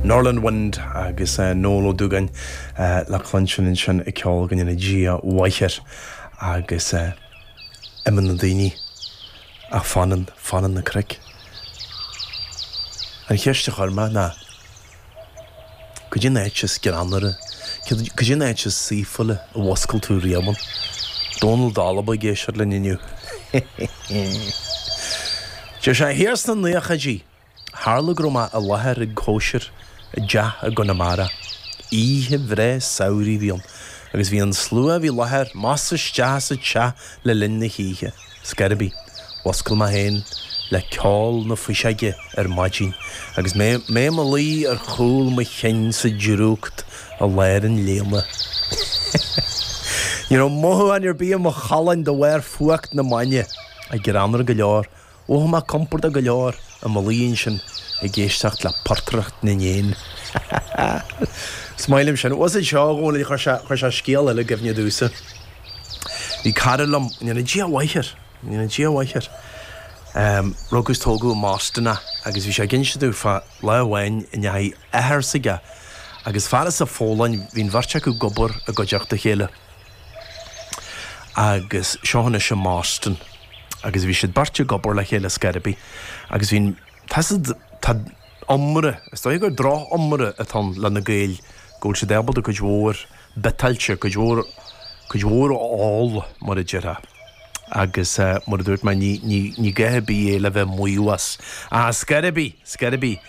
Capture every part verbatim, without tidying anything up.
Norland Wind agus uh, Noel Ó Dúgáin uh, le cluinstin ansin ag ceol go ndéana Dia a mhaith air agus uh, imíonn na daoine ach fanann fanann na cnoic. An cheist a chuir mé ná Cad é an áit is greannmhaire, cad é an áit is saoithiúla a mhuscail tú riamh ann. Dónal Dalba ag éisteacht linn inniu. Deir sé thiar sna naochaidí, tharla go raibh mé i láthair ag cóisir i dteach i gConamara. Oíche bhreá samhraidh a bhí ann, agus bhí an slua a bhí i láthair measctha isteach sa teach le linn na hoíche. Scor ar bith, mhuscail mé féin le ceol na fuiseoige ar maidin, agus mé mé i mo luí ar chúl mo chinn sa drúcht i lár an léana. Ní raibh mothúchán ar bith i mo cholainn de bharr fuacht na maidine, ach greannmhar go leor, mhothaigh mé compordach go leor i mo luí ansin ag éisteacht le portaireacht na n-éan. Is maith liom sin. Was it seo a Dhónaill, chuir sé chuir sé scéal eile i gcuimhne domhsa. Bhí cara liom, go ndéana Dia a mhaith air, go ndéana Dia a mhaith air. Rugadh is tógadh i mBoston é agus bhí sé ag inse domh fá lá amháin a ndeachaigh athair s'aige agus fear as an Pholainn, bhí an bheirt acu ag obair i gcuideachta a chéile agus seo anois i mBoston agus bhí siad beirt ag obair le chéile scor ar bith agus bhí an, tá siad, tá iomrá, is dóigh gur droch-iomrá atá ann le na Gaeil go bhfuil siad ábalta cuid mhór biotáilte, cuid mhór, cuid mhór a ól mar a déarfá. Agus mar a dúirt mé, ní, ní, ní gá ar bith é le bheith maíomh as. Ach scor ar bith, scor ar bith.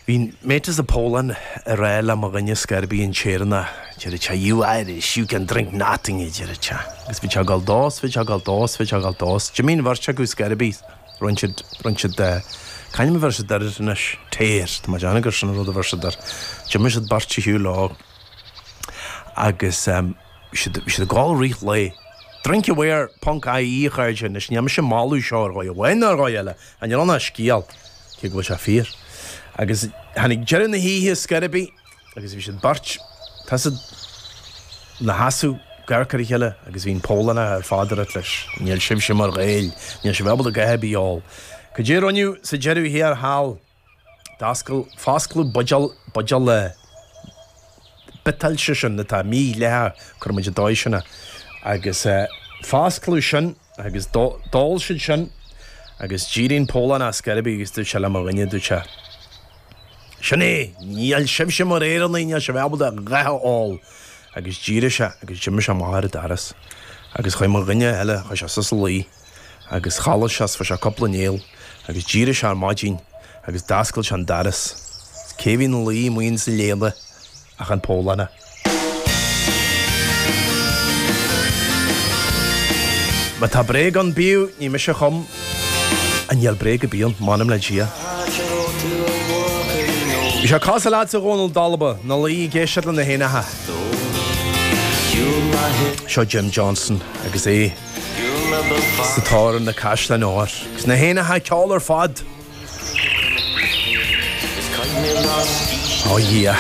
Bhí mate as an Pholainn ag rá le mo dhuine scor ar bith an tÉireannach, deireadh sé, you Irish, you can drink nothing, a deireadh sé. Agus bhí sé ag dul dó, 's bhí sé ag dul dó, 's bhí sé ag dul dó. D'imigh an bheirt acu scor ar bith, rinne siad, rinne siad, c'ainm a bheir siad air anois? Tear, tá mé ag déanamh gur sin an rud a bheir siad air. D'imigh siad beirt ar shiúl leo agus bhí siad, bhí siad ag gabháil i rith an lae. Drinkaware ponc ie a chairde, anois níl mise ag moladh seo ar dhóigh amháin ná ar dhóigh eile, ach níl ann ach scéal, cé go bhfuil sé fíor. Agus tháinig deireadh na hoíche scor ar bith agus bhí siad beirt, tá siad ina sheasamh ag amharc ar a chéile agus bhí an Polannach ar fad ag rá leis, níl sibhse mar Ghaeil, níl sibh ábalta a dhath ar bith a ól. Cad é a rinneadh sa deireadh thiar thall? D'oscail, foscladh buidéal, buidéal biotáilte sin atá mídhleathach, cuirfidh muid an dóigh sin é, agus foscladh sin agus d'ól siad sin agus d'éirigh an Polannach scor ar bith agus dúirt sé le mo dhuine, dúirt sé, Sin é, níl sibhse mar Éireannaigh, níl sibh ábalta a dhath a ól. Agus d'éirigh sé agus d'imigh sé amach ar an doras agus chuaigh mo dhuine eile, chuaigh sé suas a luí agus chodlaigh sé is fuair sé cúpla néal agus d'éirigh sé ar maidin agus d'oscail sé an doras. Cé a bhí ina luí amuigh insa léana? Ach an Polannach. Má tá bréag ann bíodh, ní mise a chum. Ach níl bréag ar bith ann, m'anam le Dia. Bhí sé cosúil leatsa a Dhónaill Dalba, ina luí ag éisteacht le na héanacha. Seo Jim Johnston agus é sa tóir ar na caisleáin óir. Agus na héanacha ag ceol ar fad. Ó a Dhia.